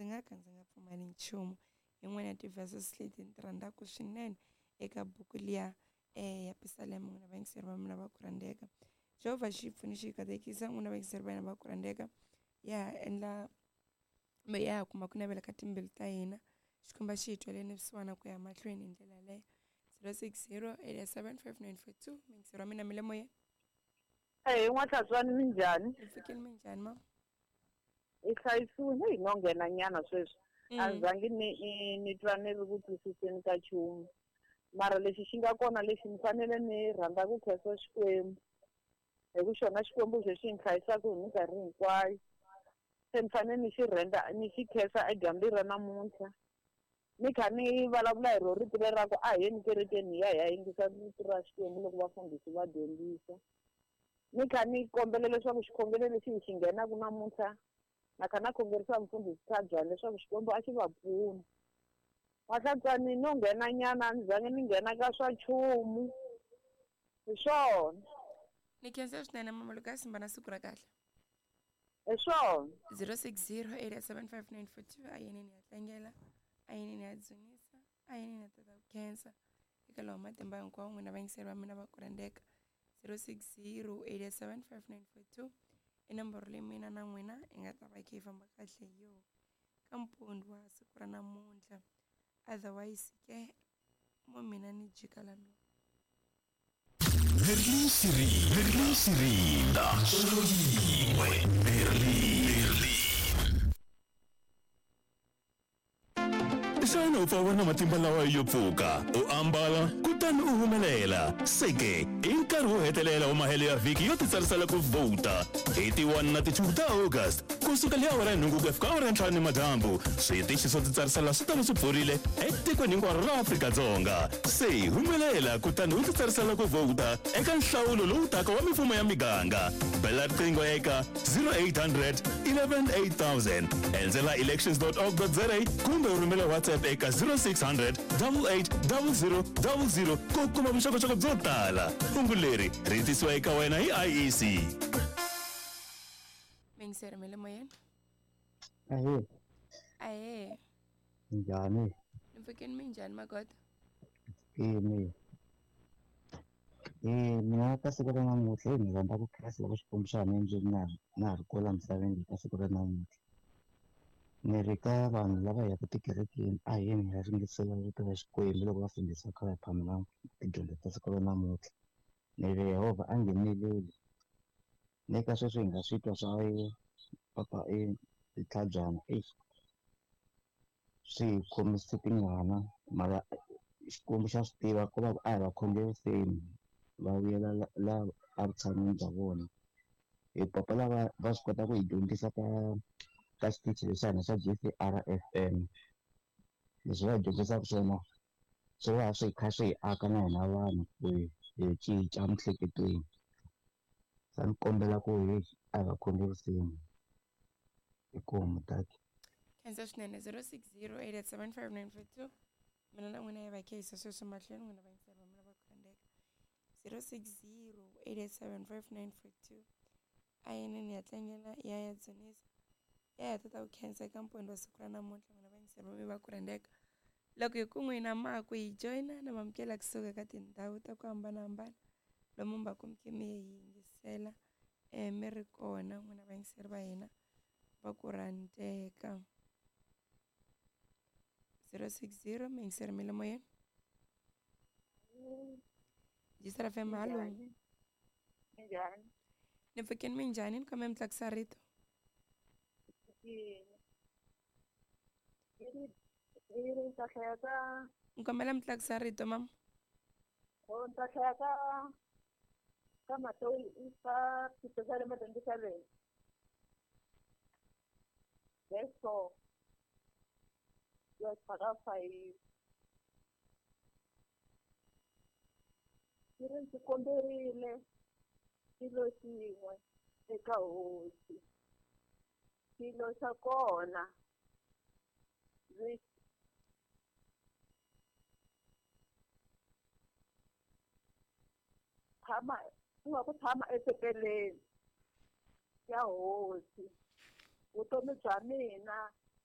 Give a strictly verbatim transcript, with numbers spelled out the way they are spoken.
nga ka ndzi nga pfumali nchumu. Yin'wana ya ti-verses leti ni ti rhandzaka swinene eka buku liya eh ya Pisalema. N'wina vayingiseri va mina va ku rhandzeka, Jehovha xi pfuni xi katekisa n'wina vayingiseri va hina va ku rhandzeka, ya endla kumbe ya kuma ku navela ka timbilu ta hina. Xikwembu xi hi tweleni vusiwana ku ya mahlweni hi ndlela yaleyo. zero six zero eight seven five nine four two. Muyingiseri wa mina mi le moyeni. Eyi n'watlhatswani minjhani? Hi pfukile, minjhani mama? Hi hlayisiwile hi no nghena nyana sweswi. A ni zangi ni ni twa ni ri ku twisiseni ka nchumu, mara lexi xi nga kona lexi ni fanele ni rhandza ku khensa Xikwembu, hi ku xona Xikwembu xexi ni hlayisaka hi minkarhi hinkwayo. Se ni fanele ni xi rhandza ni xi khensa edyambyini ra namuntlha. Ni kha ni vulavula hi ro rito leri ra ku a hi yeni kerekeni hi ya hi ya yingisa rito ra Xikwembu loko vafundhisi va dyondzisa. Ni kha ni kombela leswaku xikhongelo lexi hi xi nghenaka namuntlha na kha na khongerisa mufundhisi Tlhabyana leswaku Xikwembu a xi va pfuna. N'watlhatswani no nghena nyana a ni zangi ni nghena ka swa nchumu, hi swona. Ni khensa swinene mama Lucas, simba na siku ra kahle. Hi swona. zero six zero eight seven five nine four two. A yini ni ya tlangela, a yini ni ya dzunisa, a yini ni ya tata ku khensa eka lowa matimba hinkwawo. N'wina vayingiseri va mina va ku rhandzeka, zero six zero eight seven five nine four two i nomboro leyi mina na n'wina hi nga ta va kha hi famba kahle hi yona ka mpundzu wa siku ra namuntlha. Otherwise ke mo mina ni jika la no. Merlin Siri, Merlin Sirinda, solo yin'we, Merlin. Xana u pfa u ri na matimba lawa yo pfuka, u ambala kutani u humelela? Se ke i nkarhi wo hetelela wa mahelo ya vhiki yo titsarisela ku vhota hi ti one na ti two ta August kusuka hi awara ya nhungu ku ya fika awara ya ntlhanu nimadyambu. Switichi swo titsarisela swi ta va swi pfurile etikweni hinkwaro ra Afrika-Dzonga. Se humelela kutani u titsarisela ku vhota eka nhlawulo lowu taka wa mifumo ya miganga. Bela riqingho eka zero eight hundred eleven eight thousand, endzela elections dot org dot za kumbe u rhumela WhatsApp eka zero six hundred double eight double zero double zero ku kuma vuxokoxoko byo tala. Hungu leri ri tisiwa eka wena hi I E C. Muyingiseri mi le moyeni. Ahee. Ahee. Njhani? Ni pfukile, minjhani magoda? Pfukile. Eh, mina ka siku ra namuntlha ni rhandza ku khensa loko Xikwembu xa ha ni endlile na na ha ri kwala misaveni ka siku ra namuntlha. Ni ri ka vanhu lava yaka tikerekeni a hi yeni hi ya ringesela rito ra Xikwembu loko vafundhisi va kha va hi phamela tidyondzo ta siku ra namuntlha. Ni ri Yehovha a ngheneleli. Ni ka sweswi hi nga swi twa swa papa e Tlhabyana eish swi hi khomise tingana, mara Xikwembu xa swi tiva ku va a hi va khongeriseni va vuyela la evutshan'wini bya vona. Hi papa lava va swi kota ku hi dyondzisa ka ka xitichi lexi hina xa G C R F M. Leswi va hi dyondzisaka swona swi va swi kha swi hi aka na hina vanhu ku hi hi cinca emiehleketweni. Se ni kombela ku hi a hi va khongeriseni. Inkomu tata. Khensa swinene. Zero six zero eight seven five nine four two. Mina na n'wina hi va kha hi yisa sweswo mahlweni, n'wina vayingiseri va mina va ku rhandzeka. zero six zero eight seven five nine four two. A yini ni ya tlangela ya ya dzunisa ya ya tata ku khensa eka mpundzu wa siku ra namuntlha, n'wina vayingiseri va mina va ku rhandzeka. Loko hi ku n'wina ma ku hi joyina na mamukela kusuka ka tindhawu ta ku hambanahambana lomu mi va ku mi khe mi hi yingisela eh mi ri kona, n'wina vayingiseri va hina va ku rhandzeka. zero six zero muyingiseri mi le moyeni. G C R F M, hallo. Minjhani? Ni pfukile, minjhani? Ni kombela mi tlakusa rito. Ni kombela mi tlakusa rito mama. Oh, ni ta hlaya ka ka Matewu ka Pisalema twenty-seven. Verse four. Verse five. Yi ri ndzi komberile xilo xin'we eka hosi, xilo xa kona ndzi tshama ku nga ku tshama etempeleni ya hosi vutomi bya mina